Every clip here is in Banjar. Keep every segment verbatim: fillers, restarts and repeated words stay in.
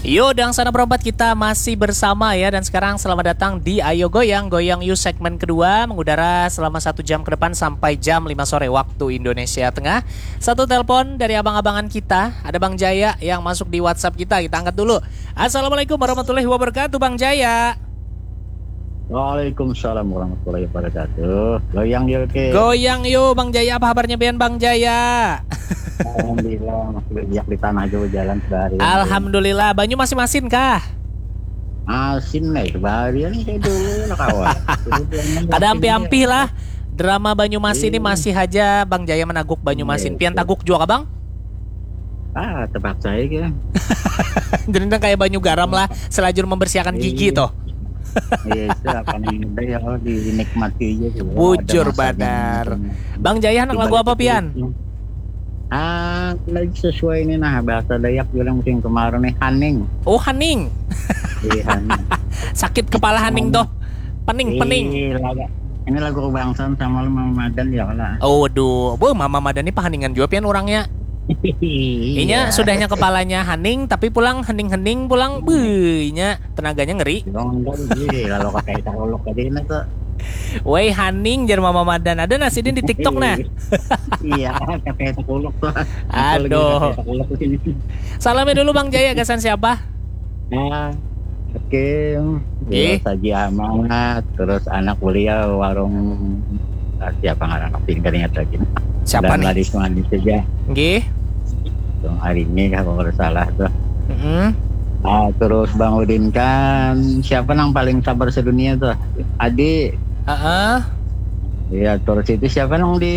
Yo, dan sana berempat kita masih bersama ya. Dan sekarang selamat datang di Ayo Goyang, Goyang You segmen kedua, mengudara selama satu jam ke depan sampai jam lima sore waktu Indonesia Tengah. Satu telepon dari abang-abangan kita, ada Bang Jaya yang masuk di WhatsApp kita. Kita angkat dulu. Assalamualaikum warahmatullahi wabarakatuh, Bang Jaya. Waalaikumsalam warahmatullahi wabarakatuh. Goyang yuk, oke. Goyang yuk, Bang Jaya. Apa kabarnya pian, Bang Jaya? Alhamdulillah, masih berjejak di tanah juga, jalan sehari. Alhamdulillah. Banyu masih masin kah? Asin nih, sebarian kayak dulu lah, kawan. Kada ampih-ampih lah. Drama Banyumas ini, iya, masih aja Bang Jaya menaguk Banyumasin. Iya, pian taguk juga kah, Bang? Ah, terpaksa aja. Jadi nang kayak banyu garam lah, selajur membersihkan gigi, iya, toh. Iya, itu apa nih, udah ya, dinikmati aja sih. Bujur banar. Bang Jaya, anak lagu apa pian? Ah, lagi sesuai ini nah, bahasa Dayak bilang musim kemarau nih, haning. Oh, haning. Iya, haning. Sakit kepala haning toh. Pening, pening. Ini lagu kebangsaan sama lu, Mama Madan ya lah. Oh, waduh. Boh, Mama Madan ini pahaningan juga pian orangnya. Iya. Inya sudahnya kepalanya haning, tapi pulang hening-hening pulang. Beuh, inya tenaganya ngeri. Lalu kayak takolok tadi ini tuh. Woi, haning, jar Mama Madan. Ada nah sidin di TikTok nah. Iya, kayak takolok tuh. Aduh. Salamnya dulu Bang Jaya, gasan siapa? Nah, oke. Oke. Saji Amat, terus anak beliau warung, ah, siapa ngaran, aku tidak ingat lagi. Siapa nih? Manis-manis saja. Nggih. Hari ini kalau nggak salah tuh. Mm -hmm. Ah, terus Bang Udin kan siapa nang paling sabar sedunia tuh? Adi. Heeh. Uh -uh. Iya, terus itu siapa nang di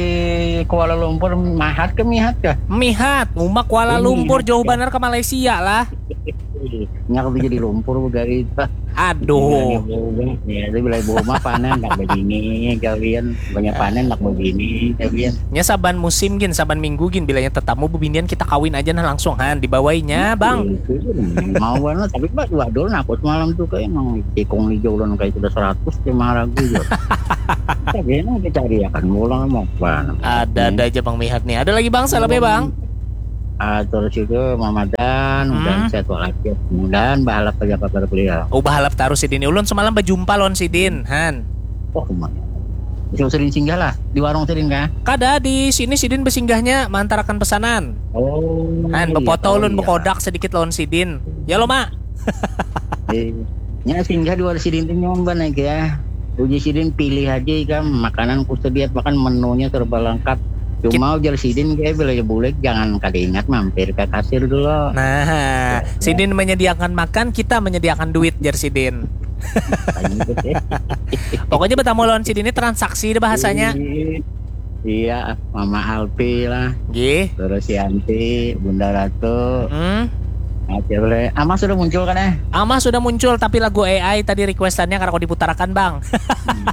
Kuala Lumpur, Mahat ke Mihat ke? Mihat, umak Kuala Lumpur jauh banar ke Malaysia lah. Nya aku jadi lumpur dari itu. Aduh. Ya, itu bila bunga panen tak begini kalian, banyak panen tak begini kalian. Nya saban musim gin, saban minggu gin, bilanya tetamu bebinian kita kawin aja nah langsung han dibawainya bang. Mau banget, tapi pas dua dol nah aku semalam tuh kayak emang tikung hijau ulun kayak sudah seratus ke maragu ya. Tapi emang dicari akan ulang mau apa? Ada ada aja bang Mihat nih. Ada lagi bang salamnya bang. Ah, terus itu Mamadan, hmm. Dan sehat walafiat. Mudahan bahalap aja kabar beliau. Oh, bahalap terus sidin. Ulun semalam berjumpa lawan sidin, Han. Oh, kemana? Bisa sering singgah lah di warung sidin kah? Kada, di sini sidin bersinggahnya mantarakan pesanan. Oh. Han, iya, bepoto ulun iya. Bekodak sedikit lawan sidin. Ya lo, Mak. Iya. Nya singgah dua sidin tu nyoba naik ya. Uji sidin pilih aja ikam, makanan ku sediat makan menunya serba lengkap. Cuma ujar sidin kayak bila bulik jangan kada ingat mampir ke kasir dulu. Nah, ya, sidin menyediakan makan, kita menyediakan duit jar sidin. Pokoknya bertamu lawan sidin ini transaksi deh bahasanya. Iya, Mama Alpi lah. Gih. Terus Yanti, Bunda Ratu. Hmm. Oke, boleh. Ama sudah muncul kan eh? Ama sudah muncul tapi lagu A I tadi requestannya karena kau diputarakan bang.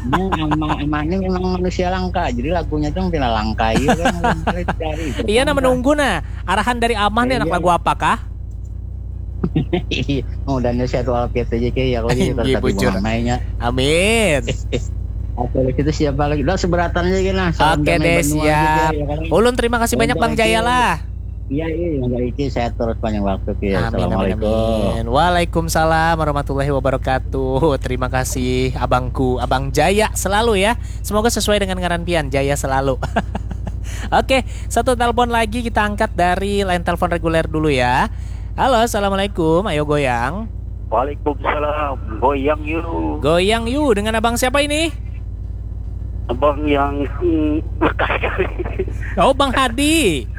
Ama ama ini memang manusia langka, jadi lagunya tuh pina langka iya kan. Iya nah menunggu nah arahan dari Amah nih anak lagu apakah? Iya, mudah-mudahan sehat walafiat aja kayak ya kalau gitu tapi bujur. Amin. Oke, itu siapa lagi? Udah seberatan aja gini lah. Oke deh, siap. Ya, kan? Ulun terima kasih banyak Bang Jaya lah. Iya, iya, yang baik sehat terus panjang waktu ya. Amin, amin, amin. Waalaikumsalam warahmatullahi wabarakatuh. Terima kasih abangku, Abang Jaya selalu ya. Semoga sesuai dengan ngaran pian, Jaya selalu. Oke, satu telepon lagi kita angkat dari line telepon reguler dulu ya. Halo, assalamualaikum. Ayo goyang. Waalaikumsalam. Goyang yuk. Goyang yuk. Dengan abang siapa ini? Abang yang hmm, berkali-kali. Oh, Bang Hadi.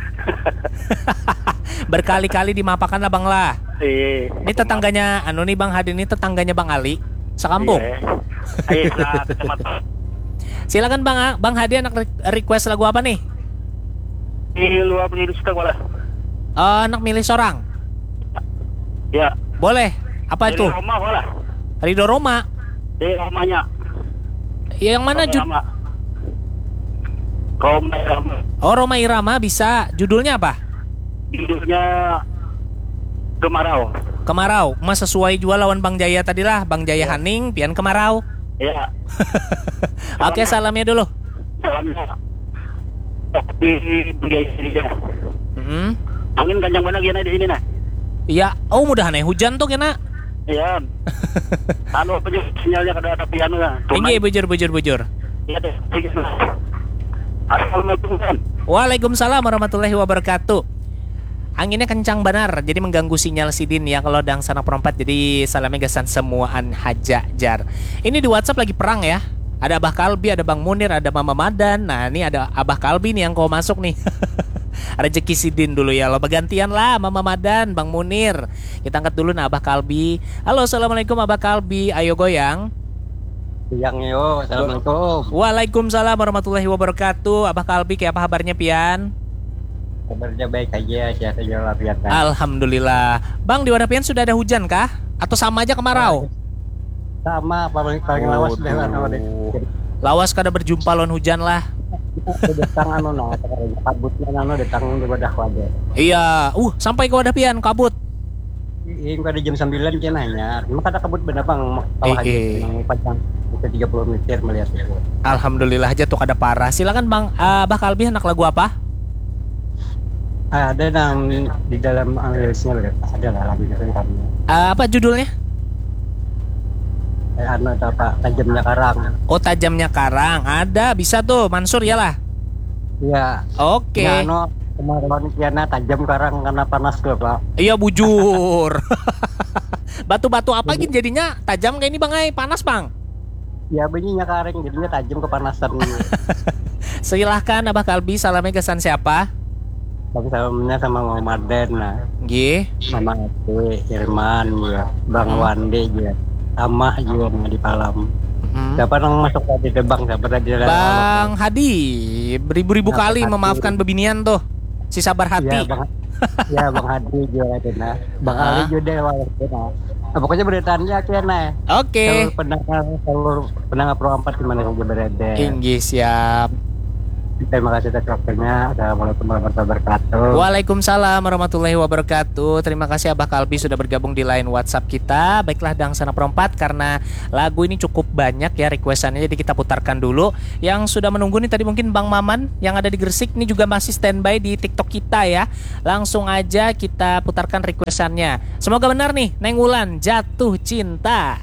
Berkali-kali dimapakan lah, Bang lah. Iya. Ini tetangganya, anu nih, Bang Hadi ini tetangganya Bang Ali, sekampung. Iya. Iya, kecamatan. Silakan Bang, Bang Hadi anak request lagu apa nih? Di luar playlist kita boleh. Uh, anak milih seorang. Ya. Boleh. Apa itu? Ridho Roma boleh. Ridho Roma. Di Romanya. Ya, yang mana jud? Roma Irama. Oh, Roma Irama bisa. Judulnya apa? Judulnya Kemarau. Kemarau. Mas sesuai jual lawan Bang Jaya tadi lah. Bang Jaya ya. Haning, pian Kemarau. Iya. Oke, salamnya dulu. Salamnya. Di Bang Jaya. Mm -hmm. Angin kencang banget gini di sini nah. Iya, oh, mudahan ai hujan tuh kena. Iya. Anu apa juga sinyalnya kada ada pian lah. Inggih, bujur, bujur, bujur. Iya deh. Assalamualaikum, Bang. Waalaikumsalam warahmatullahi wabarakatuh. Anginnya kencang banar, jadi mengganggu sinyal sidin ya kalau dangsanak perompat. Jadi salamnya gasan semuaan haja, jar. Ini di WhatsApp lagi perang ya. Ada Abah Kalbi, ada Bang Munir, ada Mama Madan. Nah, ini ada Abah Kalbi nih yang kau masuk nih. Rezeki sidin dulu ya lo. Bagantian lah, Mama Madan, Bang Munir. Kita angkat dulu nah Abah Kalbi. Halo, assalamualaikum Abah Kalbi. Ayo goyang. Yang yo, assalamualaikum. Waalaikumsalam warahmatullahi wabarakatuh. Abah Kalbi, kayak apa kabarnya pian? Kabarnya baik aja, sehat aja walafiat. Alhamdulillah. Bang, di wadah pian sudah ada hujan kah? Atau sama aja kemarau? Sama, paling paling lawas deh lah. Lawas kada berjumpa lawan hujan lah. Datang anu nah, kabutnya anu datang di wadah wadah. Iya, uh, sampai ke wadah pian kabut. Ini pada jam sembilan dia nanya, emang kada kabut benar bang? Iya. Yang panjang itu tiga puluh meter melihat itu. Alhamdulillah aja tuh kada parah. Silakan Bang, uh, Abah Kalbi, anak lagu apa? Ada nang di dalam liriknya ada lah lagu itu kami. Uh, apa judulnya? Eh, anu apa tajamnya karang. Oh, tajamnya karang. Ada, bisa tuh Mansur ya lah. Iya. Oke. Nah, anu kemarin kiana tajam karang karena panas tuh pak. Iya, bujur. Batu-batu apa gin jadinya tajam kayak ini bang ai, panas bang? Ya bunyinya kareng jadinya tajam kepanasan. Silahkan Abah Kalbi, salamnya gasan siapa? Bang salamnya sama Mama Madan nah. Gih. Mama Ade, Irman ya, Bang Hmm. Wande ya, Amah juga nah di Palam. Hmm. Siapa nang masuk tadi deh bang? Siapa tadi ada Bang Hadi, beribu-ribu Bang kali Hadi. Memaafkan bebinian tuh, si sabar hati. Ya bang, ya bang Hadi juga ada nah. Bang Ah. Ali juga ada walaupun nah. Nah, pokoknya beritaannya akhirnya nah. Oke. Seluruh pendengar, seluruh pendengar Pro empat di mana saja berada. Inggih, siap. Terima kasih atas waktunya. Assalamualaikum warahmatullahi wabarakatuh. Waalaikumsalam warahmatullahi wabarakatuh. Terima kasih Abah Kalbi sudah bergabung di line WhatsApp kita. Baiklah, Dang Sanak Perompat, karena lagu ini cukup banyak ya requestannya, jadi kita putarkan dulu. Yang sudah menunggu nih tadi mungkin Bang Maman yang ada di Gresik, ini juga masih standby di TikTok kita ya. Langsung aja kita putarkan requestannya. Semoga benar nih, Neng Wulan, Jatuh Cinta.